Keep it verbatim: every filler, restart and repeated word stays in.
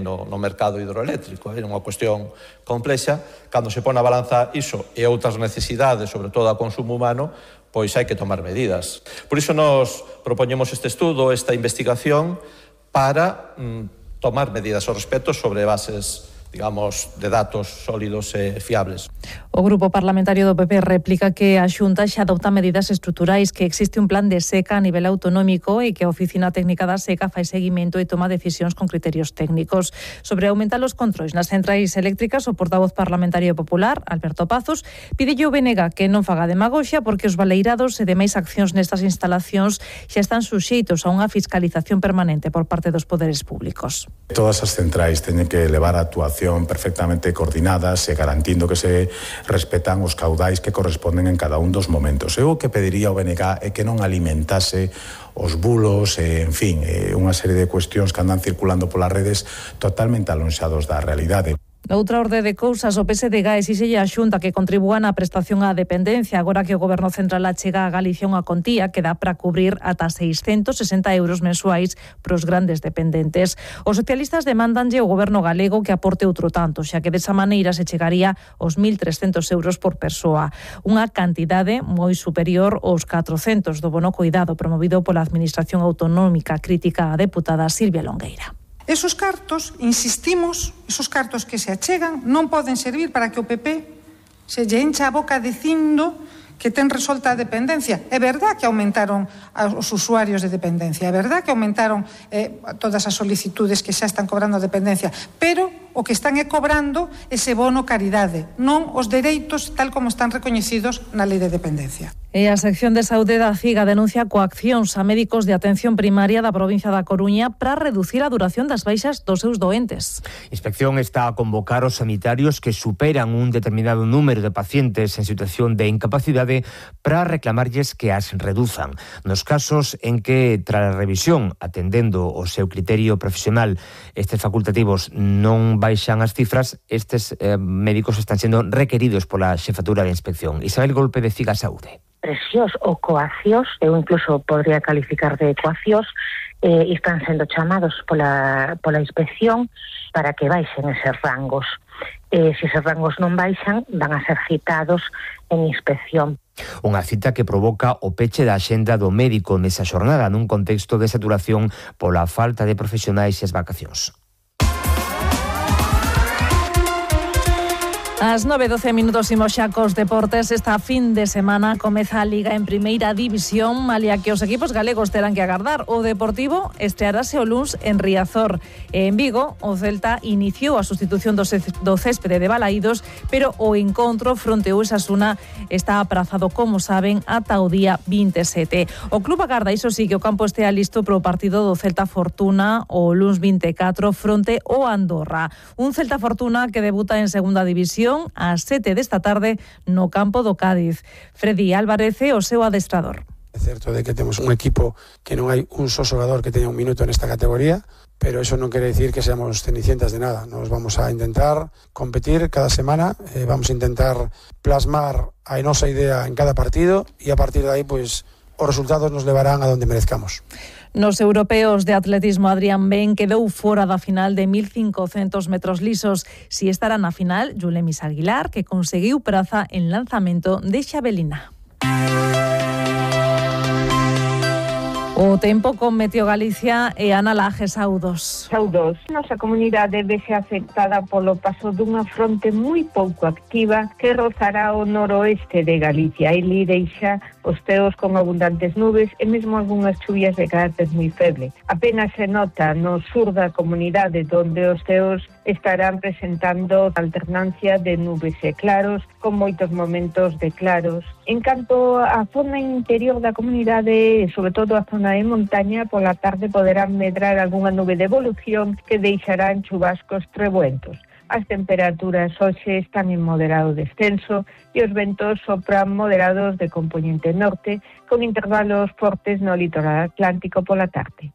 no, no mercado hidroeléctrico. É unha cuestión complexa. Cando se pone a balanza iso e outras necesidades, sobre todo a consumo humano, pois hai que tomar medidas. Por iso nos propoñemos este estudo, esta investigación, para mm, tomar medidas ao respecto sobre bases, digamos, de datos sólidos e fiables. O Grupo Parlamentario do P P replica que a Xunta xa adopta medidas estruturais, que existe un plan de seca a nivel autonómico e que a Oficina Técnica da Seca fai seguimento e toma decisións con criterios técnicos. Sobre aumentar os controis nas centrais eléctricas, o portavoz parlamentario popular, Alberto Pazos, pidelle ao B N G que non faga demagoxia porque os baleirados e demais accións nestas instalacións xa están suxeitos a unha fiscalización permanente por parte dos poderes públicos. Todas as centrais teñen que levar a actuación perfectamente coordinadas e garantindo que se respetan os caudais que corresponden en cada un dos momentos. Eu o que pediría ao B N G é que non alimentase os bulos e, en fin, unha serie de cuestións que andan circulando polas redes totalmente alonxados da realidade. Noutra orde de cousas, o P S D G exixelle a Xunta que contribúa na prestación á dependencia, agora que o Goberno Central achega a Galicia unha contía que dá para cubrir ata seiscentos sesenta euros mensuais pros grandes dependentes. Os socialistas demandanlle ao Goberno galego que aporte outro tanto, xa que desa maneira se chegaría aos mil trescentos euros por persoa, unha cantidade moi superior aos catrocentos do bono coidado promovido pola Administración Autonómica, crítica a deputada Silvia Longueira. Esos cartos, insistimos, esos cartos que se achegan non poden servir para que o P P se lle encha a boca dicindo que ten resolta a dependencia. É verdad que aumentaron os usuarios de dependencia, é verdad que aumentaron eh, todas as solicitudes que xa están cobrando a dependencia, pero o que están é cobrando ese bono caridade, non os dereitos tal como están recoñecidos na Lei de Dependencia. E a sección de saúde da CIGA denuncia coaccións a médicos de atención primaria da provincia da Coruña para reducir a duración das baixas dos seus doentes. A inspección está a convocar os sanitarios que superan un determinado número de pacientes en situación de incapacidade para reclamarlles que as reduzan. Nos casos en que, tras a revisión, atendendo o seu criterio profesional, estes facultativos non baixan as cifras, estes eh, médicos están sendo requeridos pola xefatura de inspección. Isabel Golpe, de CIGA Saúde. Presións ou coaccións, eu incluso podría calificar de coaccións, eh, están sendo chamados pola, pola inspección para que baixen eses rangos. Eh, se eses rangos non baixan, van a ser citados en inspección. Unha cita que provoca o peche da axenda do médico nesa xornada nun contexto de saturación pola falta de profesionais e as vacacións. As nove e doce minutos imos xa cos deportes. Esta fin de semana comeza a Liga en Primeira División, malia que os equipos galegos terán que agardar. O Deportivo estrearase o luns en Riazor. En Vigo, o Celta iniciou a sustitución do céspede de Balaídos, pero o encontro fronte ao Osasuna está aprazado, como saben, ata o día vinte e sete. O club agarda, iso sí, que o campo estea listo para o partido do Celta Fortuna o luns vinte e catro fronte ao Andorra. Un Celta Fortuna que debuta en Segunda División ás sete desta tarde no campo do Cádiz. Freddy Álvarez é o seu adestrador. É certo de que temos un equipo que non hai un só xogador que teña un minuto nesta categoría, pero eso non quere decir que seamos cenicientas de nada. Nos vamos a intentar competir cada semana, eh, vamos a intentar plasmar a nosa idea en cada partido e a partir de aí, pois, os resultados nos levarán a donde merezcamos. Nos europeos de atletismo, Adrián Ben quedou fora da final de mil cincocentos metros lisos. Si estará na final, Yulemis Aguilar, que conseguiu praza en lanzamento de xavelina. O tempo con Meteo Galicia e Ana Laje, saudos. Saudos. Nosa comunidade vese afectada polo paso dunha fronte moi pouco activa que rozará o noroeste de Galicia e li deixa os ceos con abundantes nubes e mesmo algunhas chuvias de carácter moi feble. Apenas se nota no sur da comunidade, donde os ceos estarán presentando alternancia de nubes e claros, con moitos momentos de claros. En canto á zona interior da comunidade, sobre todo a zona de montaña, pola tarde poderán medrar algunha nube de evolución que deixarán chubascos trebuentos. As temperaturas hoxe están en moderado descenso e os ventos sopran moderados de compoñente norte, con intervalos fortes no litoral atlántico pola tarde.